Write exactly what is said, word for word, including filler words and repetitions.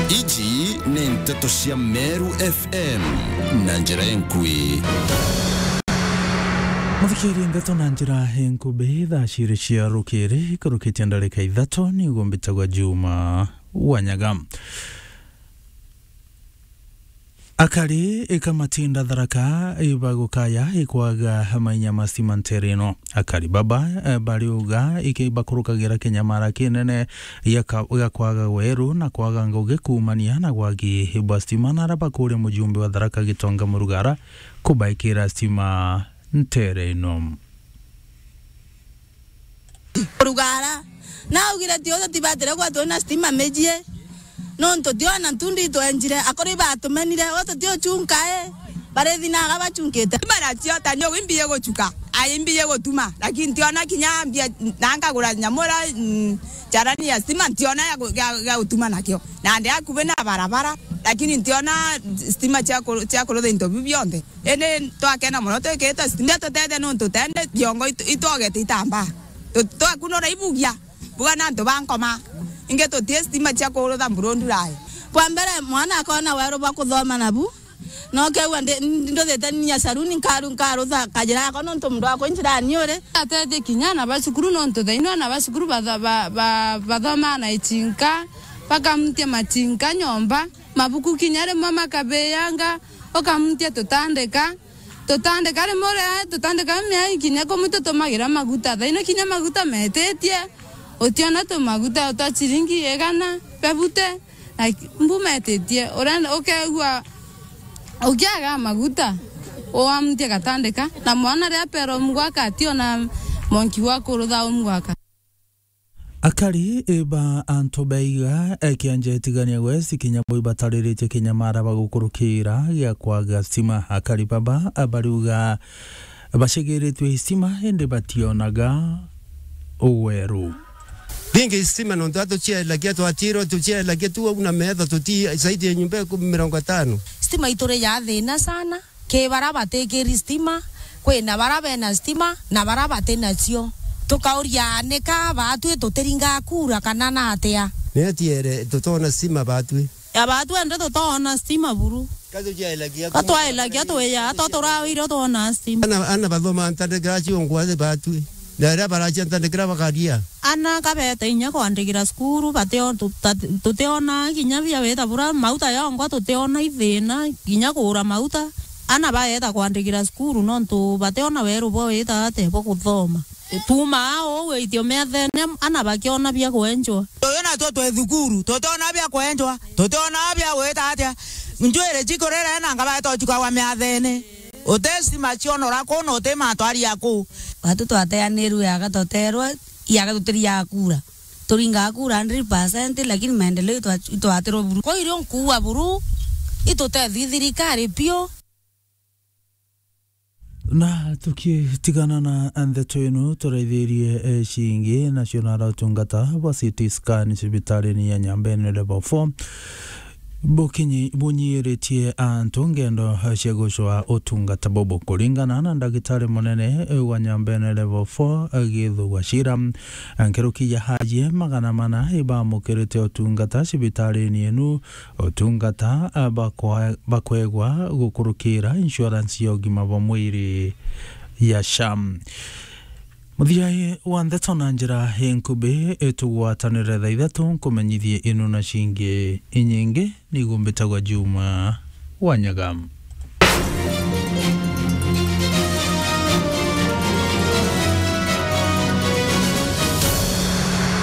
Iji ni nteto cia Meru F M na njira enkui. Muthikirie ndeto na njira enkubi, thaa ciiri cia rukiri, kurukitie ndarika ithatu, niguo mbitagwa Juma Wanyaga. Akari ikamatinda Tharaka ibagukaya ikwaga mainya ma stima ntere ino. Akari baba, eh, bariuga iki bakurukagira kinyamara kinene gia ka-, gia kwaga weru na kwaga ngugi kuumania na wagi bwa stima, na ara bakuria mujumbe wa Tharaka Gitonga Murugara kubaikira stima ntere ino. Rugara. Naugire tio tutibatire kwa twina stima mijie. Nontu tiona ntundi itwenjire, akori batumenire, o tutio chunka e. Barithinaga bachunkite. Bara cio ta nio imbiye guchuka, ai imbiye gutuma, lakini tiona kinya mbia, na nkagura nyamura, mm, charani ya stima, ntiona ya gu-, ya, ya gutuma nakio. Na ndi akubi na barabara, lakini ntiona stima cia ku-, cia kurutha into biu bionthe. Indi twakena mono twikite stima tutete nontu tende biongo itu-, itwogete itambaa. Tu-, twakunura ibugia, buga na antu ba nkoma. Ingi tutie stima cia kurutha mburundu rai. Kwa mbere, mwana akona weru bwa kuthoma nabu. No keua ndi-, nduthite ninya saruni nkaru-, nkarutha kajira yako nontu mundu wakwa njirani uri. Atethie kinya ana ba cukuru nontu thaino ana ba cukuru batha-, ba-, ba-, bathomaa na ichinka, bakamutia machinka nyomba, mabuku kinya rimwe makabiyanga, ukamutia tutandika. Tutandika rimwe ria tutandika miai kinya kumwe tutumagira maguta. Thaino kinya maguta metitie, utiona tumaguta twa chiringi igana bebute, na mbu metitie. Urenda, ukeigua ukiaga maguta, uamtie gatandika, na mwana ria pero mgwaka ationa monki wa kurutha umgwaka. Akari ba antu baiga, eh, kianja itigania West kinya bo ibatariritie kinyamara bagukurukira gia kwaga stima. Akari baba, eh, bariuga bacegeretwe istima indi bationaga uweru. Bingi istima nontu atucielagia twatirwo tucielagia tu au na metho tuti zaidi ya nyumba ikumi mirongo itano. Stima ituri ya thina sana. Ki bara batikiri stima, kwina bara bena stima, na bara batinacio. Tukauria, nika baatwi tutiringa kura kana na atia? Ni atiere tutona stima baatwi. Ya baatwi ende tutona stima buru. Ka tucielagia ka twaelagia twiya, to turawire twona stima. Ana, ana bathoma ntandikira ciongwa baatwi. Na aria baracia ntandikira bakaria. Ana kabete inya kwandikira cukuru, batio-, tu-, ta-, tutiona kinya bia wita bura, mauta yongwa tutiona ithina, kinya kugura mauta. Ana baeta kwandikira cukuru nontu bationa weru bwa wita ate bwa kuthoma. Tuumaa uu witio methene, ana bakiona bia kwenjwa. Uyu natwo twi thukuru, tutiona bia kwenjwa, tutiona bia gwita atia. Njwiri cikurire na ngabete uchuka wa miathene. Uti stima cionora kuu na uti matwari ya kuu. Batu twateanirwe aga tuterwa, iaga tutiriaga kura. Turingaga kura hundred percent, lakini maendeleo itwa-, itwatirwa buru. Kwa irio nkuua buru, itutethie thirikari piu. Na tukitigana na ndeto ino, turaithirie, eh, cingi, nacio nara utungata bwa C T scan cibitarini ya Nyambene Level four. Bukinyi-, bunyiiritie antu ngendo cia gucwa utungata bubu. Kuringana na ndagitari munene wa Nyambene Level four, Githu Gachira, nkuruki ya aajie magana mana ibamukirite utungata cibitarini inu, utungata bakwa-, bakwegwa gukurukira insurance ya ugima bwa mwiri ya SHA. Muthia wa ndeto na njira inkubi, itugwatanire thaa ithatu nkumenyithie inu na cingi inyingi, niguo mbitagwa Juma Wanyaga.